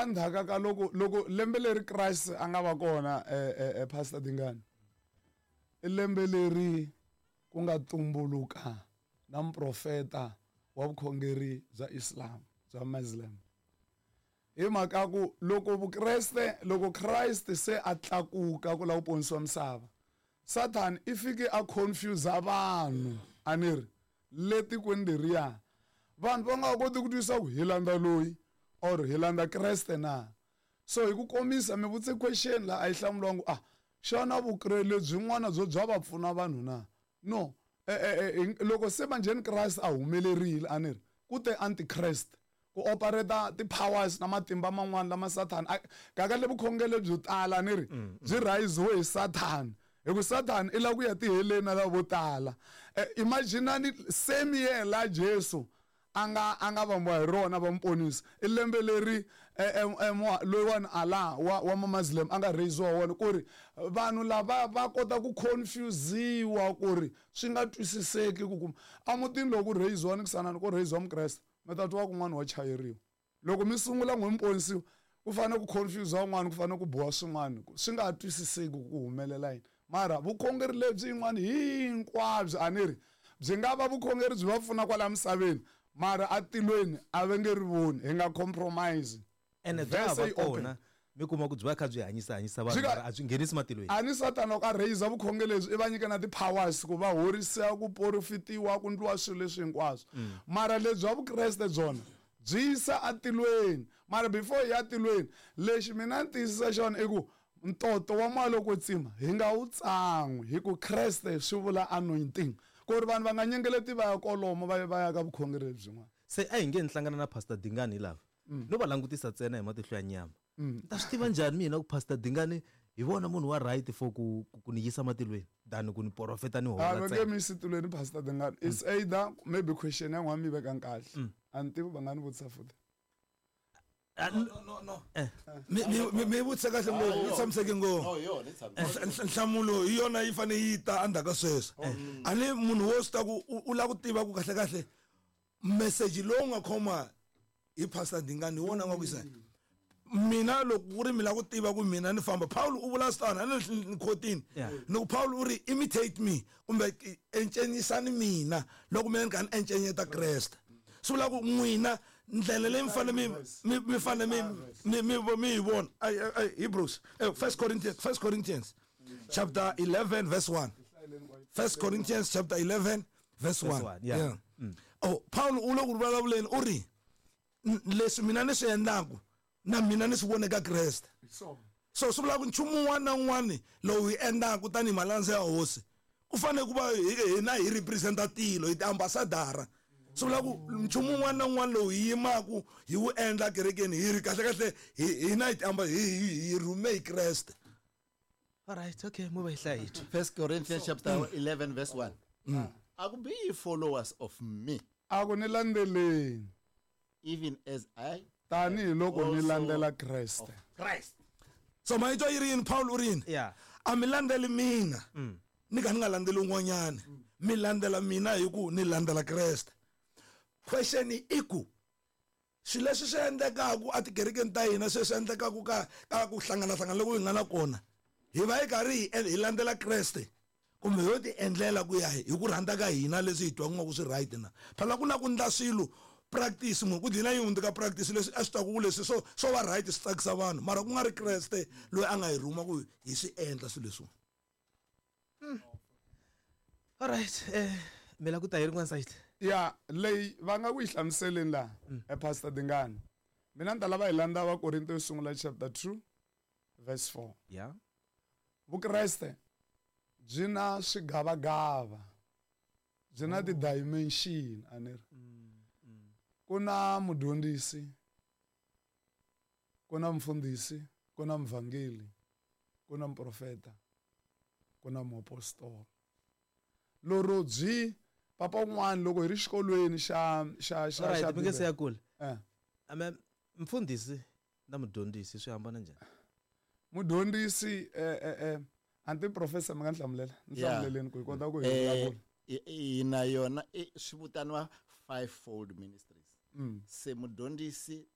Endzhaku ka loko lembe leri Christ a nga va kona Pastor Dingani, i lembe leri ku nga tumbuluka na muprofeta wa vukhongeri bya Islam, bya Muslim. Hi mhaka ku loko Vukreste, loko Christ se a tlakuka ku lava ku ponisiwa misava, Satan i fike a confuse vanhu, a ni ri, le tikweni leriya. Vanhu va nga koti ku twisisa ku hi landza loyi or hi landza Kreste na. So hi ku komisa mi vutise question la a yi hlamuriwa ah, xana vukreste lebyin'wana byo bya va pfuna vanhu na? No. Loko se manjheni Christ a humelerile, a ni ri, ku te antichrist ku operate ti-powers na matimba man'wana lama Satan a kahle vukhongelo byo tala ni ri byi raisiwe hi Satan, hi ku Satan i lava ku ya tiheleni na lava vo tala. Imaginani same year la Jesu a nga vambiwa hi rona va muponisi, i lembe leri loyiwani Allah wa Mamuslim a nga raisiwa wona, ku ri vanhu lava va kota ku confusiwa ku ri swi nga twisiseki ku kuma emutini loko ku raisiwa ni kusanani ku raisiwa Mukreste, mi ta twa kun'wana wa chayeriwa. Loko mi sungula n'we mi ponisiwa, ku fanele ku confuse un'wana, ku fanele ku boha swin'wana, swi nga twisiseki ku humelela yini. Mara vukhongeri lebyi yin'wana hinkwabyo a ni ri byi nga va vukhongeri byi va pfuna kwala misaveni, mara atilweni a va nge ri voni, hi nga compromise. Ene bya va kona, mi kuma ku byi va kha byi hanyisa hanyisa vanhu, mara a byi nghenisi matilweni. A ni Satan loko a raise vukhongeri lebyi i va nyika na ti-powers ku va horisa, ku porofitiwa, ku ndliwa swilo leswi hinkwaswo. Mara lebyi bya Vukreste byona byi yisa atilweni. Mara before hi ya tilweni, lexi mina ni tiyisisa xona i ku ntoto wa moya lowo kwetsima hi nga wu tsan'wi, hi ku Kreste swi vula anointing, ku ri vanhu va nga nyengeleti va ya kolomo va ya va ya ka vukhongeri lebyin'wana. Se a hi nge ni hlangana na Pastor Dingani hi lava, no va langutisa ntsena hi matihlo ya nyama. Ni ta swi tiva njhani mina ku Pastor Dingani hi vona munhu wa right for ku ni yisa matilweni than ku ni porofeta ni hola ntsena? A va nge mi yisi tilweni Pastor Dingani. It's either maybe question ya n'wina mi yi veka kahle. A ni tivi va nga ni vutisa futhi. No, no, no. Mi vutise kahle ngopfu, yi tshamiseke ngopfu. Nhlamulo hi yona yi fanele yi ta endzhaku ka sweswo. A ni munhu wo swi ta ku u lava ku tiva ku kahle kahle message lowu nga khoma hi Pastor Dingani hi wona nga ku yisa. Mina loko ku ri mi lava ku tiva ku mina ni famba, Paul u vula swi tano, a ni khotini. Ni ku Paul u ri imitate me kumbe encenyisani mina loko mina ni kha ni encenyeta Kreste. Swi vula ku n'wina ndlela leyi mi fanele mi fanele mi yi vona. Hebrews, First Corinthians, First Corinthians chapter 11 verse 1. First Corinthians chapter 11 verse 1. Yeah. Oh, Paul u le ku vulavuleni u ri leswi mina ni swi endlaku na mina ni swi vone ka Kreste. So swi vula ku nchumu wun'wana na wun'wana lowu hi endlaku tanihi malandza ya hosi ku fanele ku va hina hi representa tilo, hi tiambassadara. Swi vula ku nchumu wun'wana na wun'wana lowu hi yimaku hi wu endla kerekeni hi ri kahle kahle hina hi hi rhume hi Kreste. All right, okay, move hi twa. First Corinthians chapter 11 verse 1. A ku be ye followers of me. A ku ni landzeleni. Even as I tanihi loko ni landzela Kreste. Christ. So mayitwa yi ri yini Paul u ri yini? A mi landzeli mina. Ni ka ni nga landzeli un'wanyana. Mi landzela mina hi ku ni landzela Kreste. Question i ku swilo leswi swi endlekaka etikerekeni ta hina, sweswi endlekaka ka ku hlangana-hlangana loko hi nga na kona, hi va hi karhi hi landzela Kreste kumbe ho ti endlela ku ya hi ku rhandza ka hina leswi hi twaka nga ku swi right na. Phela ku na ku ndla swilo practice, munhu ku dlina yi hundzuka practice leswi a swi twaka ku leswi swo va right swi tsakisa vanhu, mara ku nga ri Kreste loyi a nga hi rhuma ku hi swi endla swilo leswiwa. All right, mi la ku ta hi rin'wana side. Ya, leyi va nga ku yi hlamuseleni laha, Pastor Dingani. Mina ni ta lava hi landza Vakorinto yo sungula chapter 2 verse 4. Vukreste byi na swigavagava, byi na ti-dimension, a ni ri. Ku na mudyondzisi, ku na mfundhisi, ku na muvhangeli, ku na muprofeta, ku na muapostola. Loro byi papa un'wana loko hi ri xikolweni xa xa xa xa mi nge se ya kule. Ame mfundhisi na mudyondzisi swi hambana njhani? Mudyondzisi anti professor mi nga ni hlamulela, ni hlamuleleni ku hi kota ku hi vulavula. Ina yona swi vitaniwa fivefold ministries. Se mudyondzisi